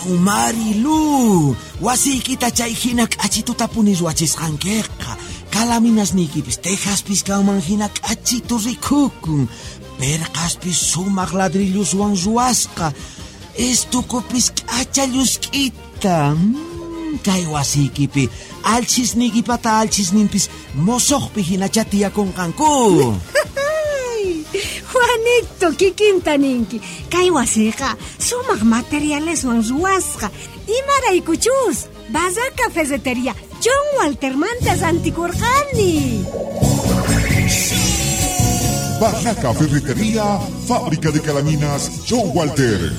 Marilu, wasiykita chay hina k'achitutapuni ruwachisqankiqa. Kalaminasniykipis tejaspis kanman hina k'achitu rikukun. Perqaspis sumaq ladrilloswan ruwasqa. Estukupis k'acha llusk'ita. Kay wasiykipi alchisniykipata alchisninpis mosoqpi hinachá tiyakunqanku. Juanito, kikinta ninki. Kay wasiqa sumaq materialeswan ruwasqa. Imaraykuchus Barraca Ferretería John Waltermanta rantikurqani. Barraca Ferretería, fábrica de calaminas John Walter.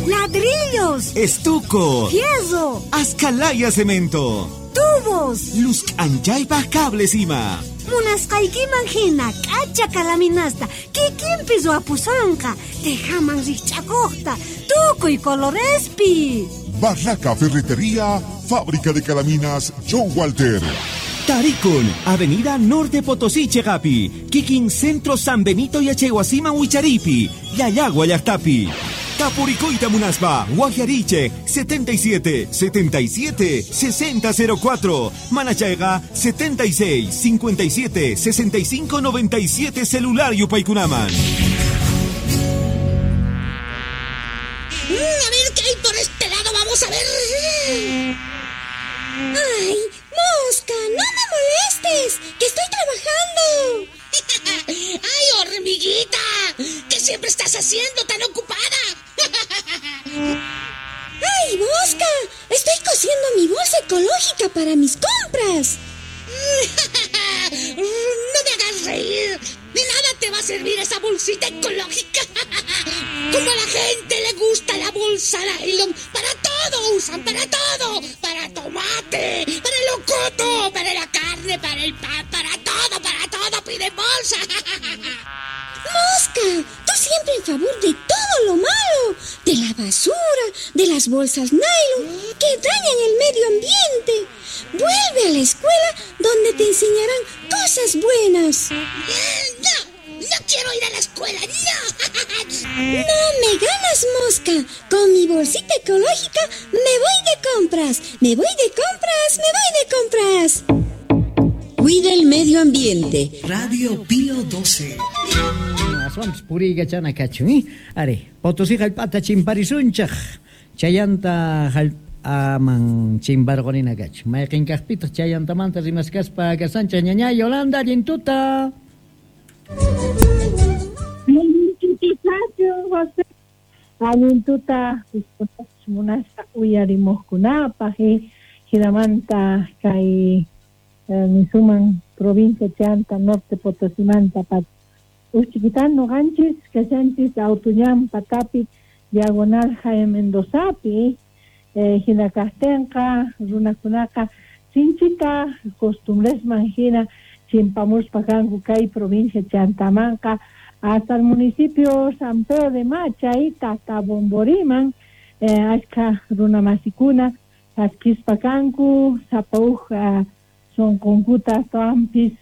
Ladrillos, Estuco, fierro, Ascalaya cemento, tubos, luz k'anchaypaq cables ima. Munasqaykiman hina k'acha kalaminasta kikinpi ruwapusunqa, tejaman rikch'akuqta, tukuy colorespi. Barraca Ferretería, fábrica de calaminas John Walter. Tarikun, Avenida Norte Potosí Chegapi, Kikin Centro San Benito Yachaywasiman Wicharipi, Llallagua llaqtapi. Tapurikuyta munaspa, Guajariche, 77 77 6004, Manachayqa 76 57 65 97 celular yupaykunaman. A ver qué hay por este lado, vamos a ver. ¡Ay, mosca! ¡No me molestes! ¡Que estoy trabajando! ¡Ay, hormiguita! ¿Qué siempre estás haciendo tan ocupada? ¡Ay, mosca! Estoy cosiendo mi bolsa ecológica para mis compras. ¡No me hagas reír! ¡De nada te va a servir esa bolsita ecológica! Como a la gente le gusta la bolsa nylon, para todo usan, para todo. Para tomate, para el locoto, para la carne, para el pan, para todo piden bolsa. ¡Mosca! Tú siempre en favor de todo lo malo, de la basura, de las bolsas nylon que dañan el medio ambiente. Vuelve a la escuela donde te enseñarán cosas buenas. ¡No! ¡No quiero ir a la escuela! ¡No! ¡No me ganas, mosca! Con mi bolsita ecológica me voy de compras. ¡Me voy de compras! ¡Me voy de compras! Cuida el medio ambiente. Radio Pío 12. Aswanpis puriykachana kachun, ¿eh? Ari, Potosí hallp'ata chimparisunchaq. Chayanta hallp'aman chimparqunina kachun. Mayqin kaqpitaq chayantamanta rimaskaspa kasanchaq ñaña Yolanda allintuta. José. Allintuta munasqa uyarimuqkunapaq, hinamanta kay nisuman provincia chanta Norte Potosimanta pat Uchiquitan noqanchis kashanchis Autuñan patapi diagonal Jaime Mendozapi hina kaqtinqa runakunaqa sinchita costumbresman hina chimpamuspa kanku kay provincia chantamanqa hasta el municipio San Pedro de Machay hasta Bomboriman achka runamasikuna chaskispa kanku sapa uj sunqunkuta astawanpis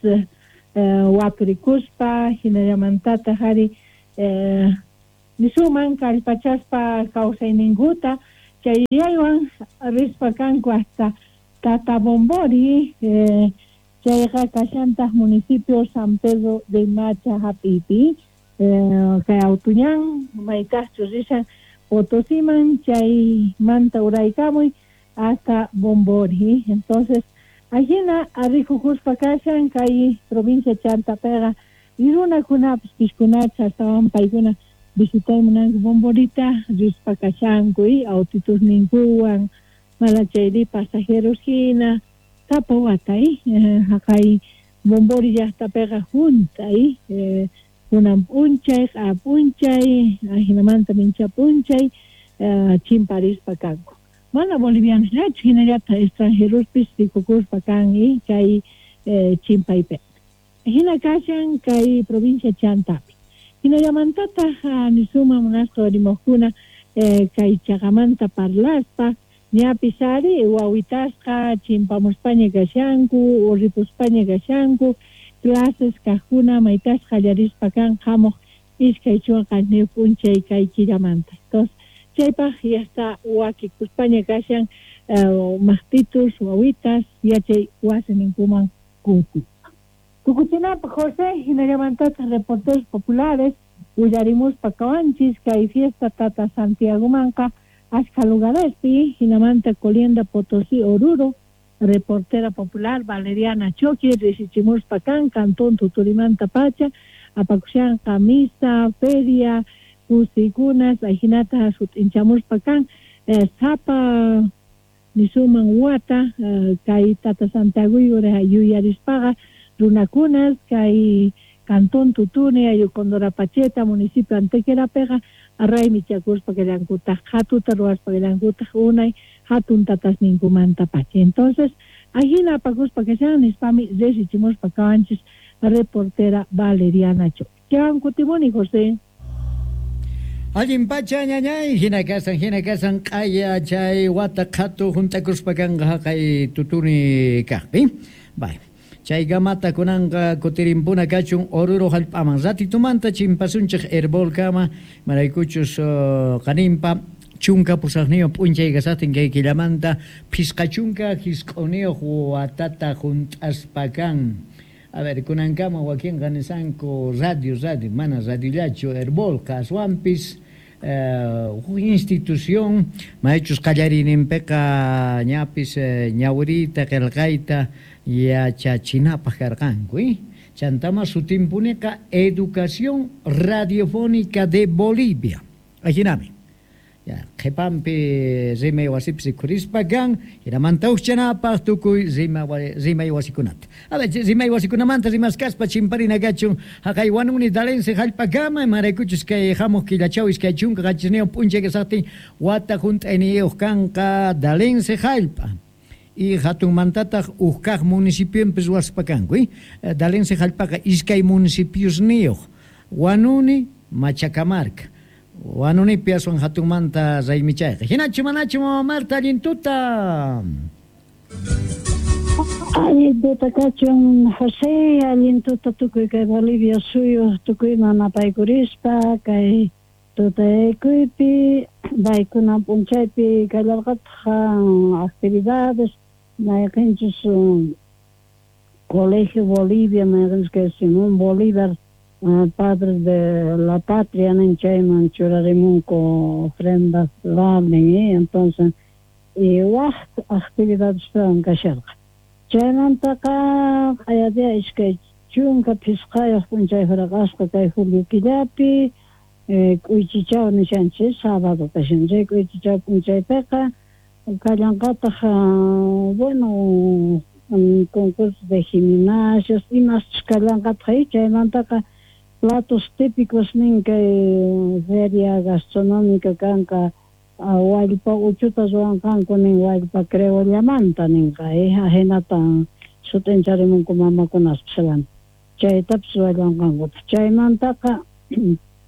waturikuspa hinallamantataq ari nisuman kallpachaspa kawsayninkuta chayraywan rispa kanku hasta Tata Bombori chayqa kashantaq municipio San Pedro de Macha hap'ipi kay Autuñan maytaqchu rishan Potosiman chaymanta uraykamuy hasta Bombori. Entonces ajina arrikukuspa kashan kay provincia Chantapiqa y runakunapis pishkunacha astawan paykuna visitay munanku Bomborita rispa kashanku y autitusninkuwan malachayri pasajeros hina sapa wata haqay Bombori llaqtapiqa junta kunan p'unchay q'a p'unchay ajinamanta mincha p'unchay chimparispa kanku. Mana bolivianosllachu hinallataq extranjerospis rikukuspa kan kay chimpaypi. Hina kashan kay provincia Chantapi. Hinallamantataq nisuma munasqa rimuqkuna kay chaqamanta parlaspa ñapis ari wawitasqa chimpamuspaña kashanku urripuspaña kashanku clases kaqkuna maytasqa qallarispa kan hamuq 27 p'unchay kay killamanta. Entonces Chaypaq yasta wakikuspaña kashan maqtitus, wawitas, yachay wasininkuman kutispa. Tukuchinapaq José, hinallamantataq reporteros populares willarimuspa kawanchis kay fiesta Tata Santiagomanqa ashka lugarespi, hinamanta Colienda Potosí Oruro, reportera popular Valeriana Choqui, risichimuspa kan, Cantón Tuturimanta pacha, apakushanqa misa, feria, kusikunas, ajinata sut'inchamuspa kan, sapa nisuman wata, kay Tata Santiago yuyarispaqa runakunas, kay Cantón Tutuni, Ayucondorapacheta, municipio Antequerapeqa, raymichakuspa kallankutaq, hatuta ruwaspa kallankutaq, unay hatun tatasninkumanta pacha. Entonces, ajina apakuspa kashan nispami risichimuspa kawanchis reportera Valeriana Choqui. Chawan kutimuni, José. Allin pacha ñañay, hina kasan q'aya chay wata qhatu juntakuspa kanqa haqay tutuni kaqpi. Bay. Chay gamata kunanqa kutirimpuna kachun Oruro hallp'aman ratitumanta chimpasunchik Herbolkama maraykuchus qaninpa chunka pusaqniyuq p'unchay kasaqtin kay killamanta phisqa chunka hisq'uniyuq watata hunt'aspa kan. A ver, kunankama wakinqa nisanku radio, mana radiollachu Herbolqa aswanpis huk institución maychus qallariyninpiqa ñapis ñawiriyta qillqayta yachachinapaq karqanku, Chantama sutimpuniqa Educación Radiofónica de Bolivia. Ajinami. Ya, qhipanpi rimay wasipis rikhurispa kan, hinamanta hukchanapaq tukuy rimay wasikunata. A ver, rimay wasikunamanta rimaskaspa chimparina kachun haqay wanuni dalense hallp'akama imaraykuchus kay hamuq killachaw iskay chunka qanchisniyuq p'unchay kasaqtin wata hunt'ayniyuq kanqa dalense hallp'a. Y hatunmantataq huk kaq municipionpis ruwaspa kanku, Dalense hallp'aqa iskay municipiosniyuq, Wanuni, Machacamarca. Wanunipi aswan hatunmanta raymichayqa. Hinachu manachu mama Marta allin tuta. Allin tuta kachun José, allin tuta tukuy kay Bolivia suyu tukuyman apaykurispa kay tutaykuypi paykuna p'unchaypi kallarqataq actividades mayqinchus Colegio Bolivia mayqinchus kay Simón Bolívar padre de la patria nin chayman churarimunku ofrenda floral nin, entonces y waq actividades kasharqa. Chaymantaqa q'ayadia iskay chunka phisqayuq p'unchay huraqasqa kay julio killapi k'uychichaw nishanchis sábado kashan chay k'uychichaw p'unchaypiqa kallanqataq bueno concurso de gimnasios imaschus kallanqataq chaymantaqa platos típicos nin kay feria gastronómica kanqa wallpa uchuta ruwanqanku nin wallpa creollamanta ninqa ahinata sut'incharimunku mamakunaspis chaytapis ruwallanqankutaq chaymantaqa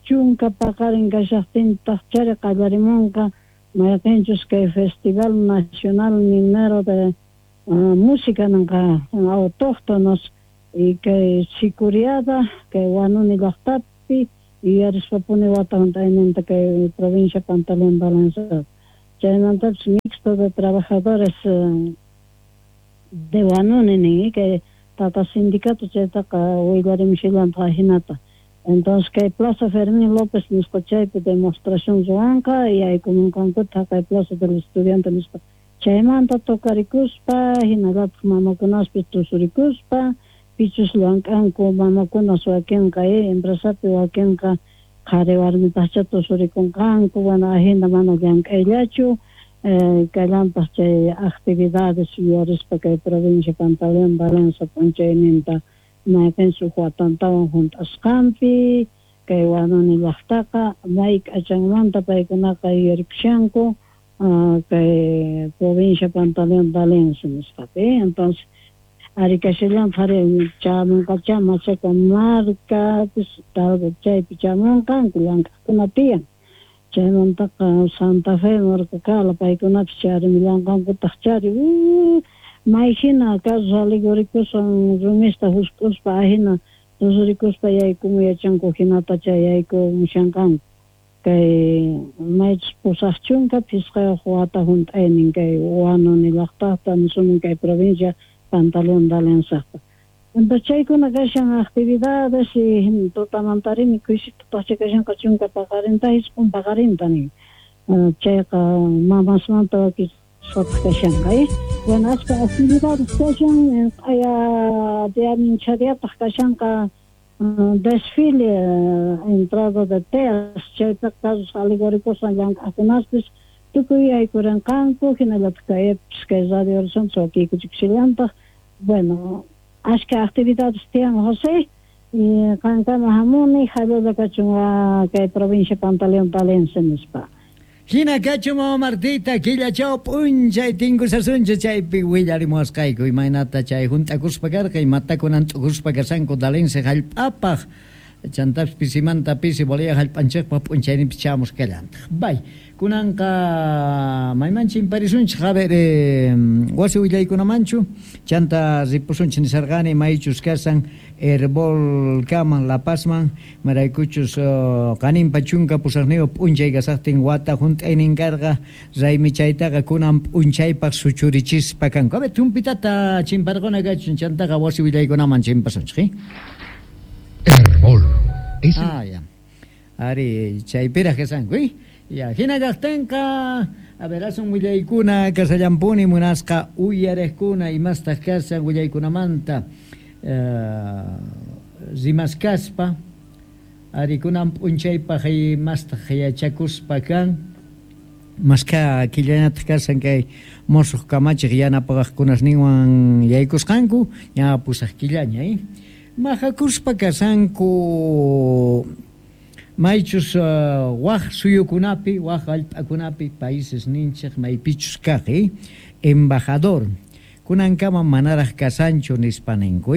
chunka paqarin kashaqtintaq chari qallarimunqa mayqinchus kay Festival Nacional Minero de Música ninqa autóctonos y kay Sicuriada kay Wanuni llaqtapi yuyarispapuni wata hunt'ayninta kay provincia Pantaleón Balanza chaymantapis mixto de trabajadores de Wanuni nin kay tata sindicato chaytaqa willarimushallantaq hinata. Entonces kay Plaza Fermín López nisqa chaypi demostración ruwanqa yaykumunqankutaq kay Plaza del Estudiante nisqa chaymanta tocarikuspa hinallataq mamakunaspis tusurikuspa pichus llank'anku mamakunas wakinqa empresapi wakinqa qhari warmipaqcha tusurikunqanku bueno ahina mana llank'ayllachu kallanpaq chay actividades yuyarispa kay provincia Pantaleón Balanza p'unchayninta mayqinchus huk watantawan hunt'asqanpi kay Wanuni llaqtaqa may k'achanmanta paykunaqa yuyarikushanku kay provincia Pantaleón Balanza nisqapi. Entonces arikashallantaq ari chamunqacha Machacamarcapis chaypi chamunqanku llank'aqkuna tiyan chaymantaqa Santa Fe markakala paykunapis charimullanqankutaq chari may hina carros alegóricoswan rumista husk'uspa ahina tusurikuspa yaykumu yachanku hinata chay yaykumushanqanku. Kay maychus 85 wata hunt'aynin kay Huanuni llaqtaqta nisunman kay provincia Pantaleón Dalensaqta. Entonces chaykuna kashan actividades y tutamantarini kuysitutaqcha kashanqa chunka paqarinta 9 paqarinta nin. Chayqa mamasmanta wakichisqataq kashanqa. Bueno, achka actividades kashan q'aya día minchadiapaq kashanqa desfile entrada de teas chaypiqa carros alegóricoswan llank'aqkunaspis tukuy yaykurinqanku hinallataq kaypis kay Radio Horizonte wakiykuchikushallantaq. Bueno, achka actividades tiyan José y qankama hamuni hallalla kachun kay provincia Pantaleón Talense nispa. Hina kachun mama Martita killachaw p'unchay tinkusasunchik chaypi willarimuwasqayku imaynata chay hunt'akuspa karqa imatakunan t'ukuspa kashanku Dalense hallp'apaq chantapis pisimanta pisi Bolivia hallp'anchikpaq p'unchayninpis chamusqallantaq. Bay, kunanqa mayman chimparisunchik a ver wasi willaykunamanchu chanta ripusunchik nisarqani maychus kasan Herbolkaman La Pazman maraykuchus qaninpa 18 p'unchay kasaqtin wata hunt'aynin karqa raymi chaytaqa kunan p'unchaypaq suchurichispa kanku. A ver, tumpitata chimparquna kachun chantaqa wasi willaykunaman chimpasunchik. Herbol. Ah, ya. Ari, chaypiraq kasanku, Ya, hina kaqtinqa, a ver, asun willaykuna kasallampuni munasqa uyariqkuna imastaq kasan willaykunamanta rimaskaspa ari kunan p'unchaypaq imastaq yachakuspa kan maskha killanataq kasan kay musuq kamachiq yanapaqkunasninwan yaykusqanku ña 8 killaña mahakuspa kasanku maychus waq suyukunapi waq hallp'akunapi países ninchik maypichus kaq embajador kunankama manaraq kasanchu nispa ninku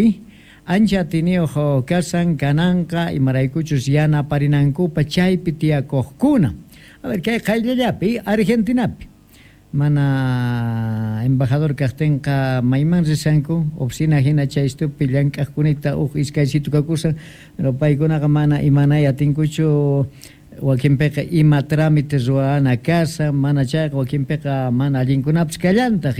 ancha atiniyuq kasan kananqa imaraykuchus yanaparinankupa chaypi tiyakuqkuna. A ver, kay qayllallapi Argentinapi mana embajador kaqtinqa mayman risanku oficina hina chaystupi llank'aqkunita uj iskaysitu kakusan pero paykunaqa mana imanay atinkuchu wakinpiqa ima trámite ruwana kasa mana chayqa wakinpiqa mana allinkunapis kallantaq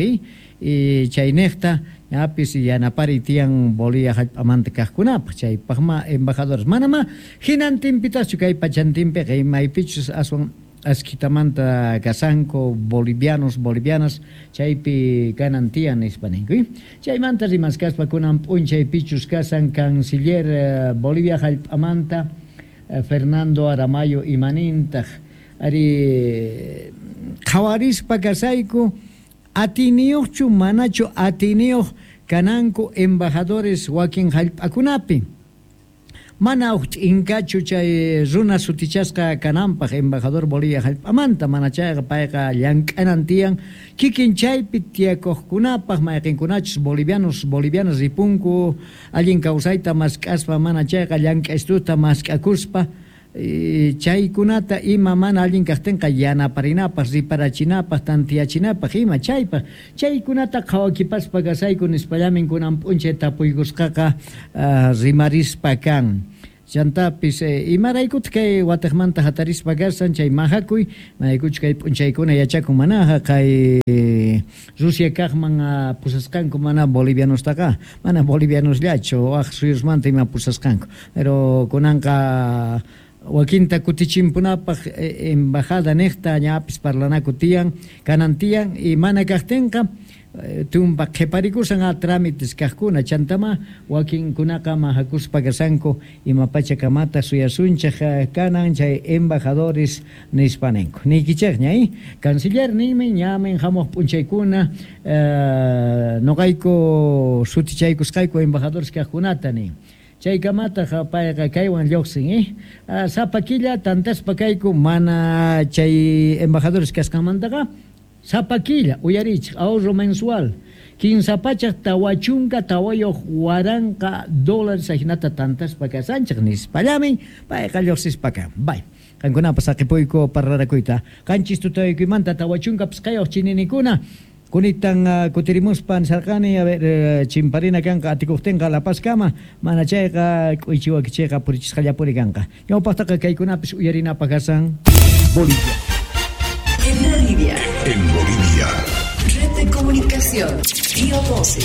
y chayniqta ñapis yanapari tiyan Bolivia hallp'amanta kaqkunapaq chaypaqma embajadores manama hinantinpitachu kay pachantinpiqa imaypichus aswan askitamanta kasanku bolivianos, bolivianas chaypi kanan tiyan nispa ninku. Chaymanta rimaskaspa kunan p'unchaypichus kasan canciller Bolivia hallp'amanta Fernando Aramayo imanintaq ari qhawarispa kasayku atiniyuqchu manachu atiniyuq kananku embajadores wakin hallp'akunapi mana uj ch'inkachu chay runa sutichasqa kananpaq embajador Bolivia hallp'amanta mana chayqa payqa llank'anan tiyan kikin chaypi tiyakuqkunapaq mayqinkunachus bolivianos bolivianas ripunku allin kawsayta mask'aspa mana chayqa llank'aystuta mask'akuspa chaykunata ima mana allin kaqtinqa yanaparinapaq riparachinapaq tantiyachinapaq ima chaypaq chaykunata qhawakipaspa kasayku nispallamin kunan p'unchay tapuykusqaqa rimarispa kan. Chantapis imaraykutaq kay wataqmanta hatarispa kasan chay mahakuy maykuchu kay p'unchaykuna yachakun manaqa kay Rusia kaqman pusasqanku mana bolivianostaqa mana bolivianosllachu waq suyusmanta ima pusasqanku pero kunanqa wakinta kutichimpunapaq embajada niqta ñapis parlanaku tiyan kanan tiyan y mana kaqtinqa tumpa qhiparikusan a trámites kaqkuna chantama wakinkunaqa mahakuspa kasanku ima pachakamata suyasunchik kanan chay embajadores nispa ninku niykichikña canciller ninmi ñamin hamuq p'unchaykuna nuqayku sutichaykusqayku embajadores kaqkunata nin. Chaykamataq payqa kaywan lluqsin sapa killa tantaspa kayku mana chay embajadores kasqanmantaqa sapa killa uyarichik ahorro mensual 344 dólares ajinata tantaspa kasanchik nispallamin payqa lluqsispa kan. Bay qankunapas saqipuyku parlarakuyta 7 tutayakuymanta 45 chininikuna. Kunitan kutirimuspa nisarqani, a ver, chimparina kanqa atikuqtinqa La Pazkama, mana chayqa k'uychi wakichiyqa purichisqallapuni kanqa. Ñawpaqtaqa kaykunapis uyarinapaq kasan. Bolivia. En Bolivia. En Bolivia. Red de Comunicación, Pío 12.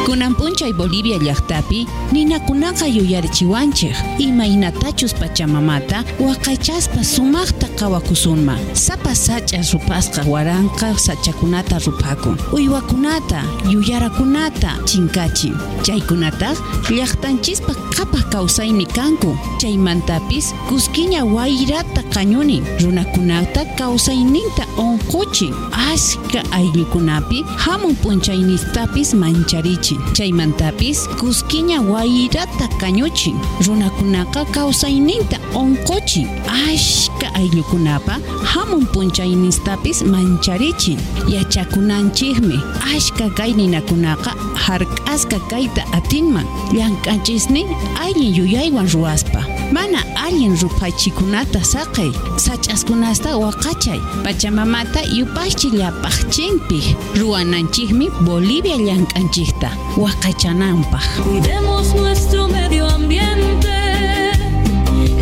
Kunan p'unchay Bolivia llaqtapi ninakunaqa yuyarichiwanchik imaynatachus pachamamata waqaychaspa sumaqta qawakusunman. Sapa sach'a rupasqa waranqa sachakunata ruphakun, uywakunata, yuyarakunata chinkachin. Chaykunataq llaqtanchispa qhapaq kawsaymi kanku. Chaymantapis kuskiña wayrata qañunin, runakunata kawsayninta unquchin, ashka ayllukunapi hamun p'unchaynistapis mancharichin. Chaymantapis kuskiña wayrata kañuchin, runakunaqa kawsayninta unquchin, ashka ayllukunapa hamun p'unchaynistapis mancharichin. Yachakunanchikmi ashka kay ninakunaqa hark'asqa kayta atinman llank'anchisnin allin yuyaywan ruwaspa. Mana allin ruphachikunata saqey, sach'askunasta waqachay, pachamamata yupaychi llapaqchinpi. Ruwananchikmi Bolivia llank'anchikta waqachananpaq. Cuidemos nuestro medio ambiente,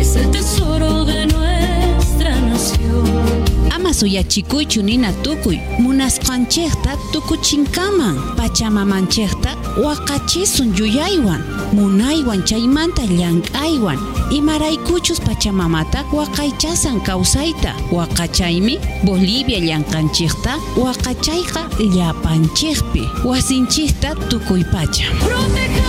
es el tesoro de nuestra nación. Ama suyachikuychu nina tukuy, munasqanchikta tukuchinkaman, pachamamanchikta waqachisun yuyaywan, munaywan chaymanta llank'aywan, imaraykuchus pachamamata waqaychasan kawsayta, waqachaymi Bolivia llank'anchikta waqachayqa llapanchikpi, wasinchikta tukuy pacha. Protejamos.